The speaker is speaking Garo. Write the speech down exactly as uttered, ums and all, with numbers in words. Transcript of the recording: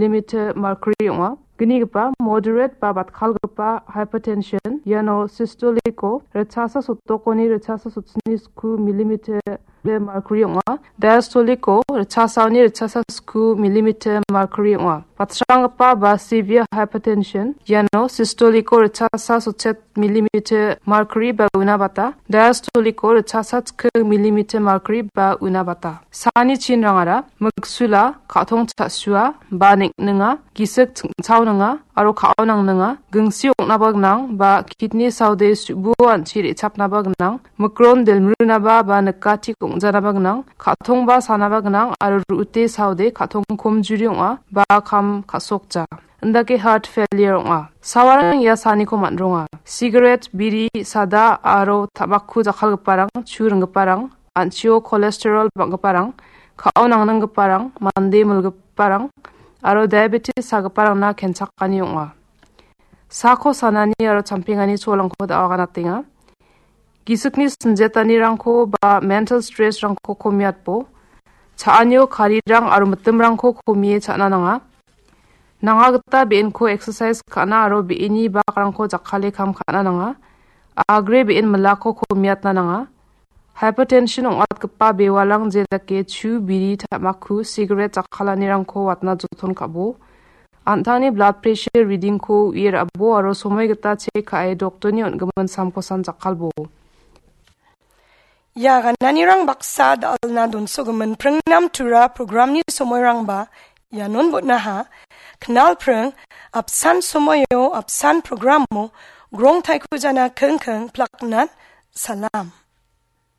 millimeter mercury ong·a. Gnigipa moderate ba batkalgipa hypertension, iano systolic-o ritchasa sotdokoni ritchasa sotsni sku millimeter mercury ong·a. Diastolic-o ritchasaoni ritchasa sku millimeter mercury ong·a. Batsranggipa ba severe hypertension, iano systolic-o ritchasa sotchet millimeter mercury ba una bata, diastolic-o ritchasa chikking millimeter mercury ba una bata. Sani chinrangara miksula, ka·tong cha·sua, ba ning·ninga, gisik chingchaoninga, aro ka·o nangninga, gingsi ong·naba gnang, ba kidney saode su·buo an·chi re·chapnaba gnang, mikron delmrunaba ba nikatik ong·janaba gnang, ka·tongba sanaba gnang, aro ru·ute saode ka·tong komjuri ong·a, ba kam ka·sokja. Indake heart failure ong·a. Sawarang ia saniko man·ronga. Sigaret, biri, sada aro tabakku jakkalgiparang, chu ringgiparang, an·chio cholesterol bang·giparang, ka·o nangninggiparang, mande milgiparang, aro diabetes sagiparangna kenchakani ong·a. Sako sanani aro champengani cholangko da·o aganatenga. Gisikni sinjetanirangko ba mental stress-rangko komiatbo. Cha·anio karirang aro mitimrangko komie cha·na nanga. Nanga gita be·enko exercise ka·na aro be·eni bakrangko jakkale kam ka·na nanga. Agre be·en milako komiatna nanga. Hypertension ong·atgipa bewalang jedake chu, biri, tamaku, sigaret jakkalanirangko watna joton ka·bo. An·tangni blood pressure reading-ko u·e ra·bo aro somoi gita check ka·e doktorni on·gimin samkosan jakkalbo. Ia gananirang baksa dal·na donsogimin Pringnam Tura programni somoirangba ianon botnaha. Knal pring, apsan somoio, apsan programo, grong taiko jana kengkeng plaknan salam.